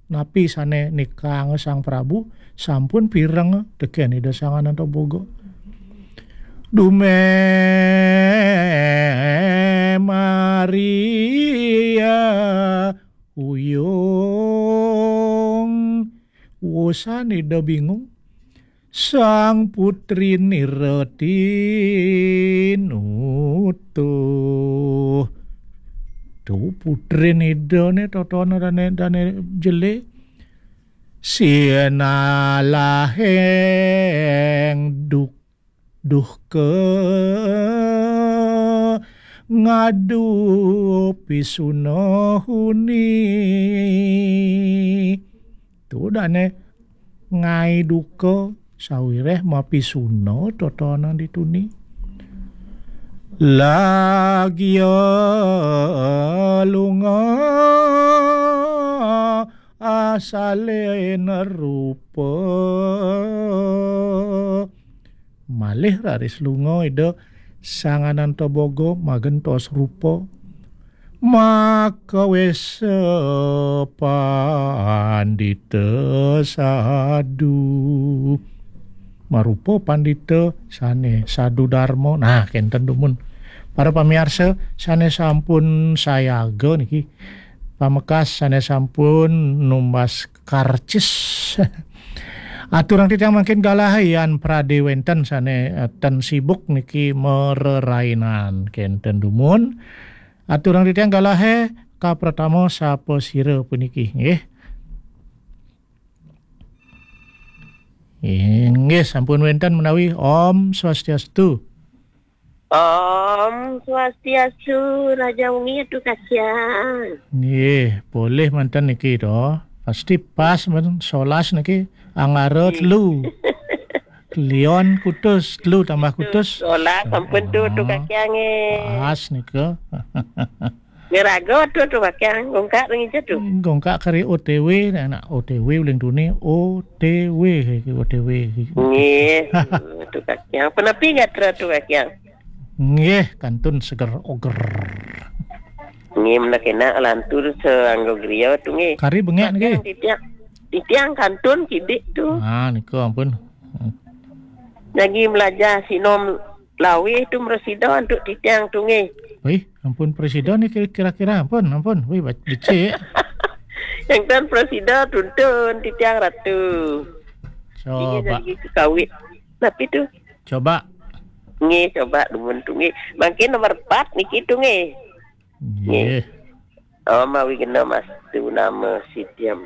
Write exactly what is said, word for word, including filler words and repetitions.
Napi sane nikang Sang Prabu, sampun pireng teken Ida Sang Ananta Boga. Dume Maria uyung. Wosan Ida bingung. Sang putri nira tinutuh. Tu putrin Ida ne totona dane, dane jele. Sinalaheng duk-, duhka ngadu pisuna huni. Tu dane ngai duka sawireh mapisuna totona dituni. Lagia lunga asalena rupa. Malih raris lunga Ida Sang Ananta Boga magentos rupa. Makawesa pandita sadu. Marupa pandita sane sadu darma. Nah, kenten dumun. Para pamiarsa sane sampun sayaga niki. Pamekas sane sampun numbas karcis. Aturang titiang mangkin galah yan prade wenten sane, eh, ten sibuk niki mererainan. Kenten dumun. Aturang titiang galahe kapratama sapa sira puniki, nggih. Inggih, sampun wenten menawi. Om Swastiastu. Om Swastiastu, Raja Wengi Atu Kacang. Nggih, boleh manten niki to. Pasti pas men solas niki Anggara telu. Lion kutus, telu tambah kutus. Solas sampun tu, Atu Kacang, eh. Pas nika. Ngeraga tu, Atu Kacang, gongkak ring ija tu. Gongkak kari O T W, nak O T W uling tuni, O T W, O T W. Nggih, Atu Kacang. Penapi gatra, Atu Kacang? Nggih, kantun seger oger. Nggih, mula kena lantur seanggo griya tu, nggih. Kari bengek nggih. Titiang, titiang kantun kidik tu. Ah, nika ampun. Lagi melajah sinom lawih tu mresida antuk titiang tu nggih. Wih, ampun presida ni kira-kira ampun, ampun. Wih, bac-, becik. Yang tan presida tuntun titiang ratu. Coba. Jadi kawit. Tapi tu. Coba. Nggih, coba dumun tu nggih. Mangkin nomor empat niki tu nggih. Nggih. Nggih. Oh, mawi kena mastu nama sidiam.